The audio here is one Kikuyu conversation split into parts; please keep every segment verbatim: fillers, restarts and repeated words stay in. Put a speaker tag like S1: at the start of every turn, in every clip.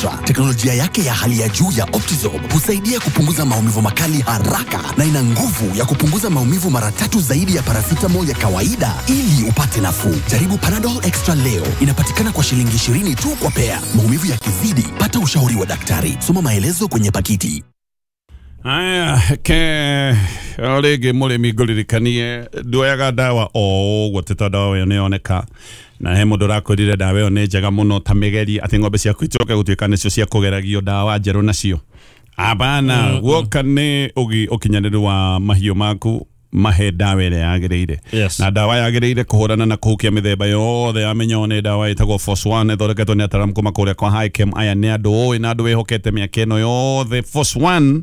S1: Extra, teknolojia yake ya hali ya juu ya Optizorb husaidia kupunguza maumivu makali haraka na ina nguvu ya kupunguza maumivu mara tatu zaidi ya paracetamol ya kawaida ili upate nafuu. Jaribu Panadol Extra leo. Inapatikana kwa shilingi ishirini tu kwa pea. Maumivu yakizidi, pata ushauri wa daktari. Soma maelezo kwenye pakiti.
S2: Aya, ke o rĩngĩ mũrĩmi ngũririkanie nduoyaga ndawa o ũguo atĩ tondũ ndawa ĩyo nĩyoneka na he mũndũ ũrakwĩrire ndawa ĩyo nĩ njega mũno ta mĩgeri atĩ ng'ombe ciaku icoke gũtuĩka nĩcio cia kũgeragio ndawa njerũ nacio. Abana, guoka nĩ ũgi ũkinyanĩru wa mahiũ maku mahe ndawa ĩrĩa yagĩrĩire.
S3: Yes.
S2: Na ndawa yagĩrĩire kũhũrana na kũhukia mĩthemba yothe ya mĩnyoo nĩ ndawa ĩtagwo Force One ĩthondeketwo nĩ ataaramu kuma kũrĩa kwa Hikem. Aya nĩ andũ ũĩ na andũ wĩhokete mĩaka ĩno yothe. Force One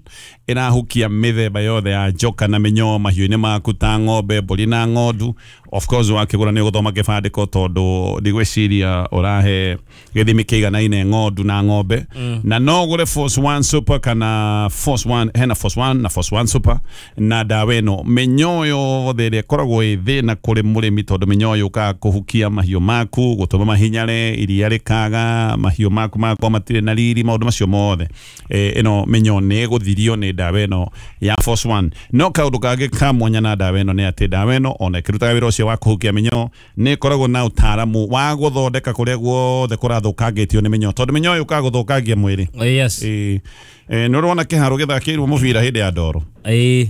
S2: ĩrahukia mĩthemba yothe ya njoka na mĩnyoo mahiũ-inĩ maku ta ng'ombe, mbũri na ng'ondu. Of course wakĩgũra nĩ ũgũthoma kĩbandĩko tondũ ndigwĩciria ũrahe gĩthimi kĩiganaine ng'ondu na ng'ombe.
S3: Mm.
S2: Na no ũgũre Force One Super kana Force One, hena Force One na Force One Super na ndawa ĩno mĩnyoo yothe ĩrĩa ĩkoragwo ĩ thĩna kũrĩ mũrĩmi tondũ mĩnyoo yũkaga kũhukia mahiũ maku, gũtũma mahinyare, iria rĩkaga, mahiũ maku magakorwo matirĩ na riri, maũndũ macio mothe. E, ĩno mĩnyoo nĩ ĩgũthirio nĩ ndawa ĩno ya Force One. No kaũndũ kangĩ ka mwanya na ndawa ĩno nĩ atĩ ndawa ĩno ona ĩkĩrutaga wĩra ũcio wa kũhukia mĩnyoo nĩ ĩkoragwo na ũtaaramu wa gũthondeka kũrĩa guothe kũrathũkangĩtio nĩ mĩnyoo tondũ mĩnyoo yũkaga gũthũkangia mwĩrĩ.
S3: Yes.
S2: Ĩ, e, nĩ ũrona kĩharo gĩthakĩirwo mũbira hĩndĩ ya ndoro.
S3: Ĩ,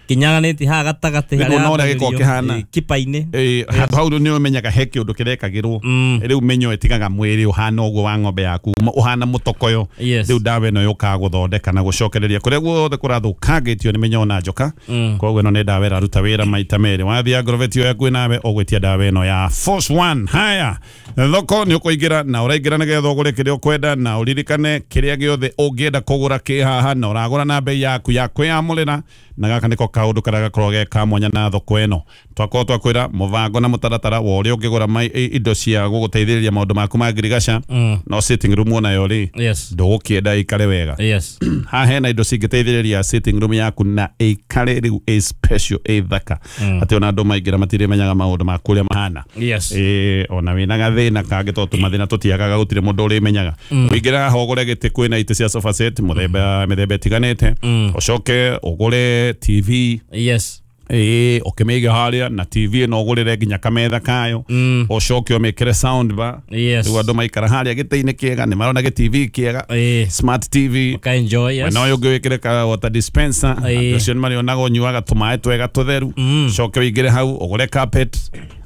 S3: kinyaganĩtie haha gatagatĩ
S2: Nĩguo
S3: harĩa
S2: na ũrĩa gĩkoragwo
S3: ambagĩrĩrio,
S2: kĩhana.
S3: ĩ, kipa-inĩ.
S2: Ĩ, handũ hau nĩ ũmenyaga he kĩũndũ kĩrekagĩrwo.
S3: Mm.
S2: Rĩu mĩnyoo ĩtigaga mwĩrĩ ũhana ũguo wa ng'ombe yaku, ũhana mũtokoyo.
S3: Yes.
S2: Rĩu ndawa ĩno yũkaga gũthondeka na gũcokereria kũrĩa guothe kũrathũkangĩtio nĩ mĩnyoo na njoka.
S3: Mm.
S2: Koguo ĩno nĩ ndawa ĩraruta wĩra maita merĩ. Wathiĩ Agrovet ĩyo yaku nawe ũgwĩtia ndawa ĩno ya Force One. Haya, thoko nĩ ũkũingĩra na ũraingĩra nĩgetha ũgũre kĩrĩa ũkwenda na ũririkane kĩrĩa gĩothe ũngĩenda kũgũra kĩ haha na ũragũra na bei yaku ya kwĩyamũrĩra na gaka nĩko kaũndũ karĩa gakoragwo ge ka mwanya na thoko ĩno. Twakorwo twakwĩra mũbango na mũtaratara wa ũrĩa ũngĩgũra mai- indo cia gũgũteithĩrĩria maũndũ maku ma ngirigaca.
S3: Mm.
S2: No sitting room onayo rĩ,
S3: Yes.
S2: ndũgũkĩenda ĩikare wega.
S3: Yes.
S2: Haha hena indo cingĩteithĩrĩria sitting room yaku na ĩikare rĩu ĩ special ĩ thaka.
S3: Mm.
S2: Atĩ ona andũ maingĩra matirĩmenyaga maũndũ maku ũrĩa mahana.
S3: Yes.
S2: Ĩ, ona wĩna gathĩna kangĩ tondũ tũmathĩna tũtiagaga gũtirĩ mũndũ ũrĩmenyaga.
S3: Mm.
S2: Ũingĩre haha ũgũre gĩtĩ kwĩna itĩ cia sofa set mũthemba mĩthemba ĩtiganĩte.
S3: Mm.
S2: Ũcoke ũgũre T V.
S3: Yes.
S2: Ĩ, ũkĩmĩige harĩa na T V ĩno ũgũrĩre nginya kametha kayo.
S3: Mm.
S2: Ũcoke ũmĩkĩre sound bar.
S3: Yes.
S2: Rĩu andũ maikara harĩa gĩtĩ-inĩ kĩega nĩ marona gĩ T V kĩega.
S3: Ĩ.
S2: Smart T V.
S3: Ũka enjoy, yes.
S2: Na ũyũ ũngĩ wĩkĩre ka water dispenser.
S3: Ĩ.
S2: Andũ acio nĩ marĩonaga ũnyuaga tũmaĩ twega tũtheru.
S3: Mm.
S2: Coke ũingĩre hau ũgũre carpet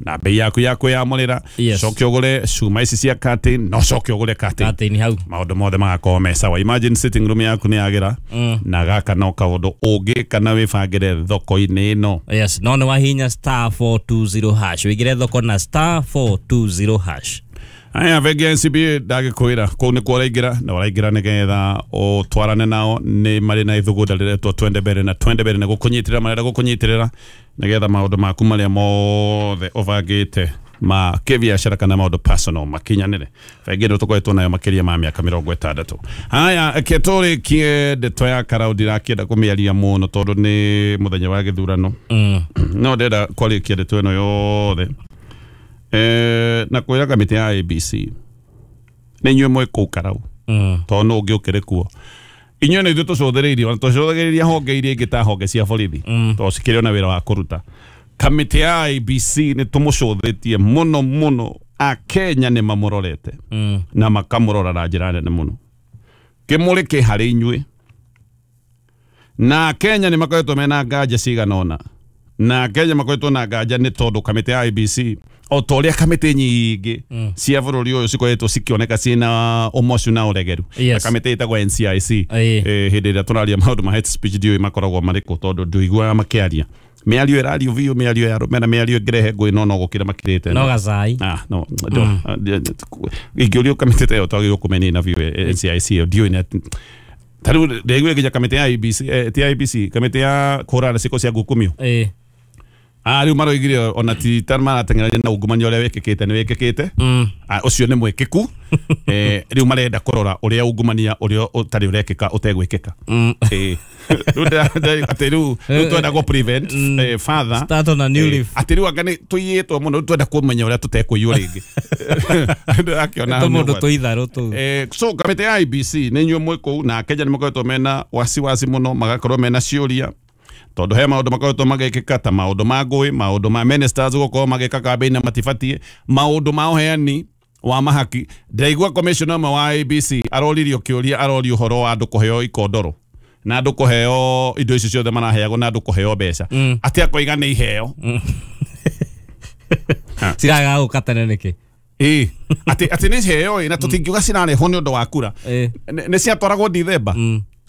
S2: na bei yaku ya kwĩyamũrĩra.
S3: Yes.
S2: Coke ũgũre cuma ici cia curtain no coke ũgũre curtain.
S3: Curtain hau.
S2: Maũndũ mothe magakorwo me sawa. Imagine sitting room yaku nĩ yagĩra.
S3: Mm.
S2: Na gaka no kaũndũ ũngĩka na wĩbangĩre thoko-inĩ ĩno.
S3: Yes, no nĩ wahinya star four two zero hash. Wĩingĩre thoko na star four two zero hash.
S2: Aya, bengi ya N C B A ndagĩkwĩra kũu nĩkuo ũraingĩra na ũraingĩra nĩgetha ũtwarane nao nĩ marĩ na ithugunda rĩretwo Twende Mbere na Twende Mbere nĩ gũkũnyitĩrĩra marenda gũkũnyitĩrĩra nĩgetha maũndũ maku marĩa mothe ũbangĩte ma kĩbiacara kana maũndũ personal makinyanĩre. Bengi ĩno tũkoretwo nayo makĩria ma mĩaka mĩrongo ĩtandatũ. Haya, reke tũrĩkie ndeto ya Karau ndirakĩenda kũmĩaria mũno tondũ nĩ mũthenya wa gĩthurano.
S3: Mm.
S2: No ndĩrenda kwarĩkia ndeto ĩno yothe. Eh, na kwĩra kamĩtĩ ya A B C nĩ inyuĩ mwĩ kũu Karau.
S3: Mm.
S2: Tondũ nũ ũngĩ ũkĩrĩ kuo. Inyuĩ nĩ ithuĩ tũcũthĩrĩirie, ona tũcũthagĩrĩria honge iria ingĩ ta honge cia borithi.
S3: Mm.
S2: Tondũ cikĩrĩ ona wĩra wa kũruta. Kamĩtĩ ya A B C nĩ tũmũcũthĩtie mũno mũno. Akenya nĩ mamũrorete.
S3: Mm.
S2: Na makamũrora na njĩra nene mũno. Kĩmũrĩ kĩ harĩ inyuĩ. Na Akenya nĩ makoretwo mena nganja cigana ũna. Na Akenya makoretwo na nganja nĩ tondũ kamĩtĩ ya A B C o ta ũrĩa kamĩtĩ nyingĩ
S3: Mm.
S2: cia bũrũri ũyũ cikoretwo cikĩoneka ciĩna ũmocu na ũregeru.
S3: Yes.
S2: Na kamĩtĩ ĩtagwo N C I C.
S3: Ĩĩ.
S2: Eh, hĩndĩ ĩrĩa tũraria maũndũ ma hate speech ndiũĩ makoragwo marĩkũ tondũ ndũiguaga makĩaria. Mĩario ĩrario biũ, mĩario ya rũmena, mĩario ĩngĩrehe ngũĩ no no gũkĩra makĩrĩte.
S3: No gacai.
S2: Ah, no, ndo- ingĩũrio kamĩtĩ ta ĩyo twagĩrĩirwo kũmĩnina biũ, N C I C ĩyo ndiũĩ nĩ atĩ- ta rĩu ndaiguire nginya kamĩtĩ ya A B C, eh, ti A B C, kamĩtĩ ya kũhũrana na ciĩko cia ngukumio.
S3: Ĩĩ.
S2: Ah riu maroigire ona ti ta marateng'erania na ungumania ũrĩa wĩkĩkĩte nĩ wĩkĩkĩte. Ah, ũcio nĩ mwĩkĩku. Eh, riu marenda kũrora ũrĩa ungumania ũrĩa ũtarĩ ũrekĩka ũtegwĩkĩka. Eh, rĩu ndĩra- atĩ rĩu rĩu twenda gũ prevent eh, further.
S3: Start on a new leaf.
S2: Atĩ rĩu anga nĩ tũiyĩtwo mũno, rĩu twenda kũmenya ũrĩa tũtekũiywo rĩngĩ. Ndĩrakĩona hau nĩ
S3: Tũmũndũ
S2: ũgwati.
S3: tũitharũ tũu.
S2: Eh, so kamĩtĩ ya I B C nĩ inyuĩ mwĩ kũu na Kenya nĩ makoretwo mena wasiwasi mũno, magakorwo mena ciũria tondũ he maũndũ makoretwo magĩkĩka ta maũndũ ma ngũĩ, maũndũ ma ministers gũkorwo magĩka campaign na matibatiĩ, maũndũ ma ũheani wa mahaki. Ndĩraigua commissioner ũmwe wa I B C aroririo kĩũria, arorio ũhoro wa andũ kũheo ikondoro na andũ kũheo indo icio ciothe maraheagwo na andũ kũheo mbeca, atĩ akoiga nĩ iheo.
S3: Ciragaga gũka tene nĩkĩ?
S2: Ĩĩ, atĩ atĩ nĩ iheo ĩ, na tũtingiuga cirarehwo nĩ ũndũ wa kura.
S3: Ĩĩ.
S2: Nĩ ciatwaragwo Dithemba.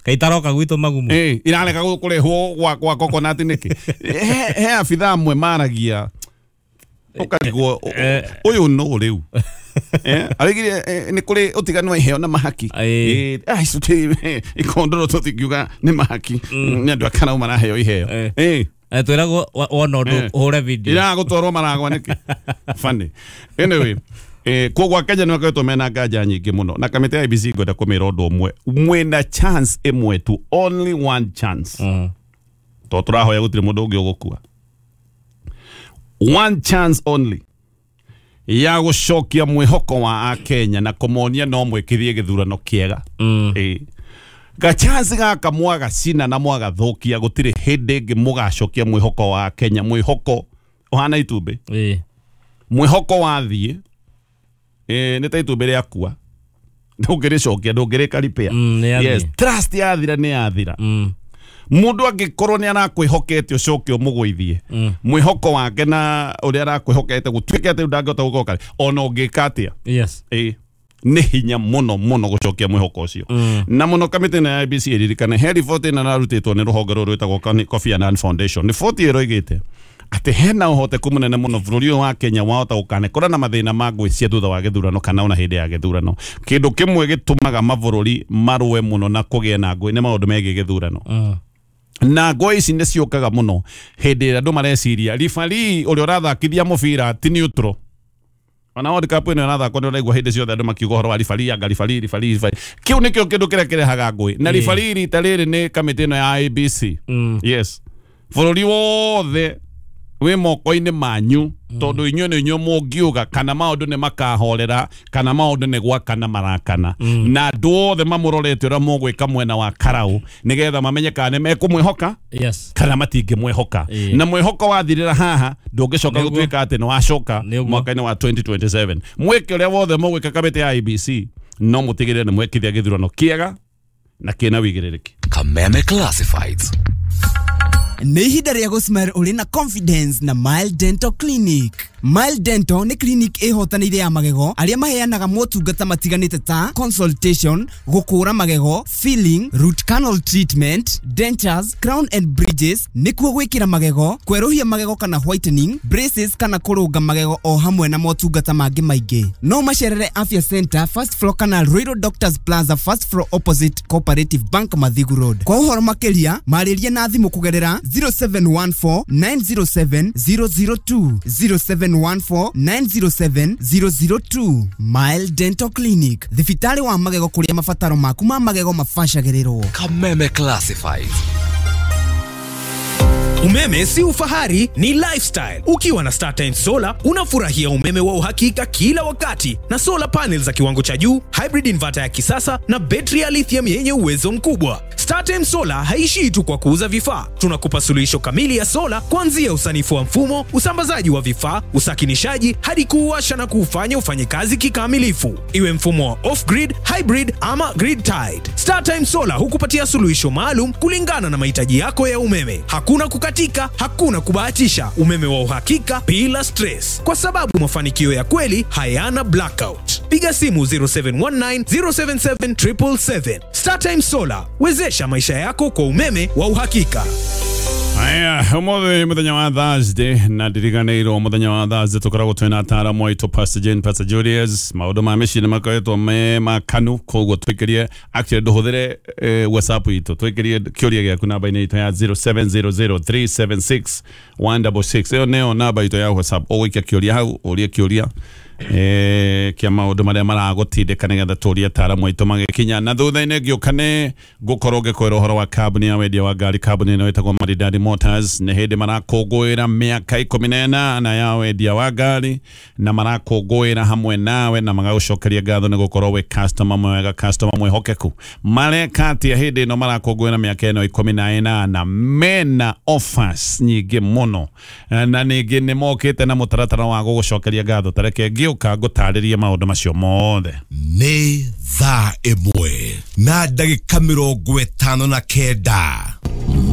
S3: Kaitaroka gwitũ magumu.
S2: Ĩĩ, irarega kũrehwo gwa gwa coconut nĩkĩ? He he abithaa amwe maragia ũkarigwo ũyũ nũ rĩu. Eh, arigire nĩ kũrĩ ũtiganu wa iheo na mahaki.
S3: Ĩĩ.
S2: Ĩĩ, ah, icio ti ikondoro tũtingiuga nĩ mahaki. Nĩ andũ a Karau maraheo iheo. Ĩĩ.
S3: Eh, twĩragwo wona ũndũ ũhũre video.
S2: Iraga gũtwarwo maragwa nĩkĩ? Funny. Anyway, eh, koguo Kenya nĩ makoretwo mena nganja nyingĩ mũno na kamĩtĩ ya I B C ngwenda kũmĩra ũndũ ũmwe, mwĩna chance ĩmwe tu, only one chance.
S3: Mm.
S2: Tondũ tũrahoya gũtirĩ mũndũ ũngĩ ũgũkua. One chance only ya gũcokia mwĩhoko wa Akenya na kũmonia no mwĩkithie gĩthurano kĩega.
S3: Mm.
S2: Ĩĩ. Ga chance gaka mwagacina na mwagathũkia gũtirĩ hĩndĩ ĩngĩ mũgacokia mwĩhoko wa Kenya, mwĩhoko ũhana itumbĩ.
S3: Ĩĩ.
S2: Mwĩhoko wathiĩ eh, nĩ ta itumbĩ rĩakua, ndũngĩrĩcokia, ndũngĩrĩka repair.
S3: Mm, nĩ yathiĩ.
S2: Yes, trust yathira nĩ yathira.
S3: Mm.
S2: Mũndũ angĩkorwo nĩ arakwĩhokete ũcoke ũmũgũithie, mwĩhoko wake na ũrĩa arakwĩhokete gũtuĩke atĩ rĩu ndangĩhota gũcoka ona ũngĩka atĩa.
S3: Yes.
S2: Ĩĩ, nĩ hinya mũno mũno gũcokia mwĩhoko ũcio. Na mũno kamĩtĩ ĩno ya I B C ĩririkane he riboti ĩno ĩrarutĩtwo nĩ rũhonge rũrũ rwĩtagwo Kofi Annan Foundation. Riboti ĩroigĩte atĩ hena ũhoteku mũnene mũno bũrũri ũyũ wa Kenya wahota gũkanekora na mathĩna ma ngũĩ cia thutha wa gĩthurano kana ona hĩndĩ ya gĩthurano. Kĩndũ kĩmwe gĩtũmaga mabũrũri marũe mũno na kũgĩa na ngũĩ nĩ maũndũ megiĩ gĩthurano.
S3: Mm.
S2: Na ngũĩ ici nĩ ciũkaga mũno hĩndĩ ĩrĩa andũ mareciria referee ũrĩa ũrathakithia mũbira ti neutral. Ona World Cup ĩno ĩrathakwo nĩ ũraigua hĩndĩ ciothe andũ makiuga ũhoro wa referee, anga referee, referee, referee. Kĩu nĩkĩo kĩndũ kĩrĩa kĩrehaga ngũĩ. Na referee rita rĩrĩ nĩ kamĩtĩ ĩno ya I B C.
S3: Mm.
S2: Yes. Bũrũri wothe wĩ moko-inĩ manyu tondũ inyuĩ nĩ inyuĩ mũngiuga kana maũndũ nĩ makahorera kana maũndũ nĩ gwakana marakana. Na andũ othe mamũrorete ũrĩa mũgwĩka mwena wa Karau nĩgetha mamenye kana nĩ mekũmwĩhoka
S3: Yes.
S2: kana matingĩmwĩhoka.
S3: Ĩĩ.
S2: Na mwĩhoko wathirĩra haha ndũngĩcoka
S3: Nĩguo.
S2: gũtuĩka atĩ nĩ wacoka
S3: Nĩguo.
S2: mwaka-inĩ wa twenty twenty-seven. Mwĩke ũrĩa wothe mũgwĩka kamĩtĩ ya I B C no mũtigĩrĩre nĩ mwekithia gĩthurano kĩega na kĩna wĩigĩrĩrĩki.
S1: Kameme Classifieds.
S4: Nĩ ihinda rĩa gũsmile ũrĩ na confidence na Mile Dental Clinic. Mile Dental nĩ clinic ĩhotanĩire ya magego arĩa maheanaga motungata matiganĩte ta consultation, gũkũra magego, filling, root canal treatment, dentures, crown and bridges, nĩkuo gwĩkĩra magego, kwerũhia magego kana whitening, braces kana kũrũnga magego o hamwe na motungata mangĩ maingĩ. No macerere Afya Center first floor kana Ruiru Doctors Plaza first floor opposite Cooperative Bank Mathigu Road. Kwa ũhoro makĩria marĩrie na thimũ kũgerera zero seven one four nine zero seven zero zero two, zero seven one four nine zero seven zero zero two. Mile Dental Clinic, thibitarĩ wa magego kũrĩa mabataro maku ma magego mabacagĩrĩrwo.
S1: Kameme Classifieds.
S5: Umeme si ufahari, ni lifestyle. Ukiwa na StarTimes Solar unafurahia umeme wa uhakika kila wakati na solar panels za kiwango cha juu, hybrid inverter ya kisasa na betri ya lithium yenye uwezo mkubwa. StarTimes Solar haishii tu kwa kuuza vifaa. Tunakupa suluhisho kamili ya solar kuanzia usanifu wa mfumo, usambazaji wa vifaa, usakinishaji hadi kuuwasha na kuufanya ufanye kazi kikamilifu. Iwe mfumo wa off-grid, hybrid ama grid tied. StarTimes Solar hukupatia suluhisho maalum kulingana na mahitaji yako ya umeme. Hakuna kukatika, hakuna kubahatisha. Umeme wa uhakika bila stress. Kwa sababu mafanikio ya kweli hayana blackout. Piga simu zero seven one nine zero seven seven triple seven. StarTimes Solar, wezesha maisha yako kwa umeme wa uhakika.
S2: Aya, umuthi muthenya wa Thursday na ndiriganĩirwo muthenya wa Thursday tũkoragwo twĩna ataaramu aitũ Pastor Jane, Pastor Julius. Maũndũ ma mĩciĩ nĩ makoretwo me makanu, koguo twĩkĩrie, actually ndũhũthĩre eh, WhatsApp itũ, twĩkĩrie kĩũria gĩaku namba-inĩ itũ ya zero seven zero zero three seven six one six six. Ĩyo nĩyo namba itũ ya WhatsApp. Ũgũikia kĩũria hau, ũrie kĩũria eh, kĩa maũndũ marĩa maragũtindĩka nĩgetha tũrie ataaramu aitũ magĩkinya. Na thutha-inĩ ngĩũka nĩ ngũkorwo ngĩkwĩra ũhoro wa kambuni ya wendia wa ngari. Kambuni ĩno ĩtagwo Maridadi Motors. Nĩ hĩndĩ marakũngũĩra mĩaka ikũmi na ĩnana ya wendia wa ngari, na marakũngũĩra hamwe nawe na magagũcokeria ngatho nĩ gũkorwo wĩ customer mwega, customer mwĩhokeku. Mareka atĩa hĩndĩ ĩno marakũngũĩra mĩaka ĩno ikũmi na ĩnana? Mena offers nyingĩ mũno, na ningĩ nĩ mokĩte na mũtaratara wa gũgũcokeria ngatho. Tareke ngĩũka ngũtarĩrie maũndũ macio mothe.
S6: Nĩ thaa ĩmwe na ndagĩka mĩrongo ĩtano na kenda.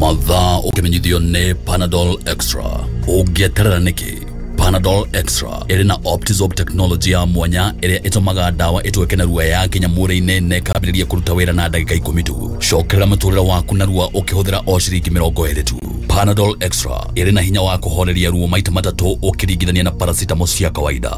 S7: Mathaa ũkĩmenyithio nĩ Panadol Extra. Ũngĩeterera nĩkĩ? Panadol Extra ĩrĩ na Optizorb technology ya mwanya ĩrĩa ĩtũmaga ndawa ĩtweke narua yakinya mwĩrĩ-inĩ na ĩkambĩrĩria kũruta wĩra na ndagĩka ikũmi tu. Cokerera mũtũrĩre waku narua ũkĩhũthĩra o ciringi mĩrongo ĩrĩ tu. Panadol Extra ĩrĩ na hinya wa kũhoreria ruo maita matatũ ũkĩringithania na paracetamol cia kawaida.